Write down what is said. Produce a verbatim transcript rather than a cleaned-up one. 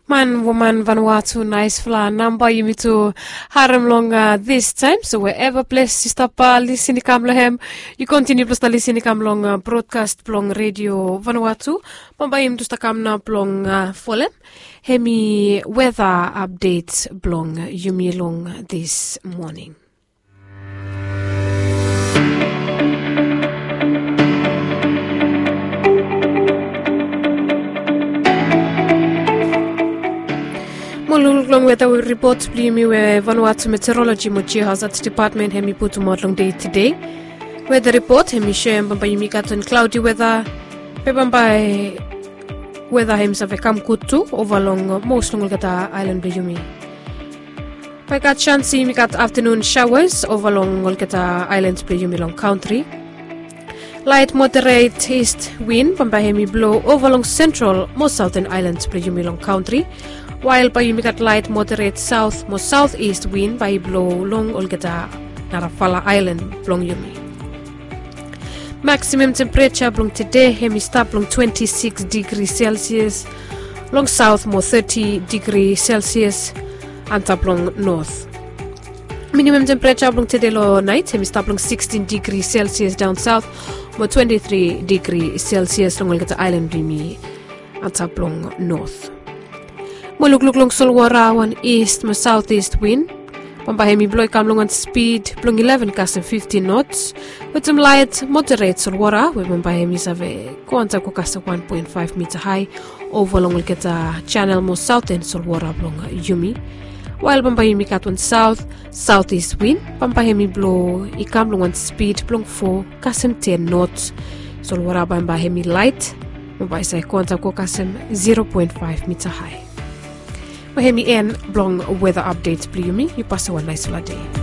Man woman vanua tu naisfala namba yumi tu harem long distaem. So wherever ples yu stap lisin i kam long hem, yu kontiniu blong stap lisin i kam long brodkas blong redio vanua tu. Bambae yumi tu stap kam nao blong folem hemi weta apdet blong yumi long dis moning. Mo lukluk long weta ripot blong yumi we Vanuatu Meteorology mo Geohazard Department hemi putumaot long dei tede. Weta ripot hemi soem bambae yumi gat wan klaodi weta, be bambae weta hemi save kam gud tu ova long mos long olgeta aelan blong yumi. Bae gat sans yumi gat aftenun saoas ova long olgeta aelan blong yumi long kantri. Laet moderet ist win bambae hemi blo ova long sentral mo saoten aelan blong yumi long kantri. Wael bae yumi gat laet moderet saot mo saotist win bae i blo long olgeta narafala aelan blong yumi. Maksimam tempereja blong tede hemi stap long twenti sikis digri selsias long saot mo teti digri selsias antap long not. Minimam tempereja blong tede long naet hemi stap long sikstin digri selsias daon saot mo twenti tri digri selsias long olgeta aelan blong yumi antap long not. Mo lukluk long solwota, wan ist mo saotist win bambae hemi blo i kam long wan spid blong ileven kasem fiftin nots, wetem laet moderet solwota we bambae hemi save go antap go kasem wan poen faef mita hae ova long olgeta janel mo saoten solwota blong yumi. Wael bambae yumi gat wan saot saotist win bambae hemi blo i kam long wan spid blong fo kasem ten nots. Solwota bambae hemi laet, bambae i save go antap go kasem zero poen faef mita hae. Mo hemi en blong weta apdet blong yumi. Yu pasem wan naesfala dei.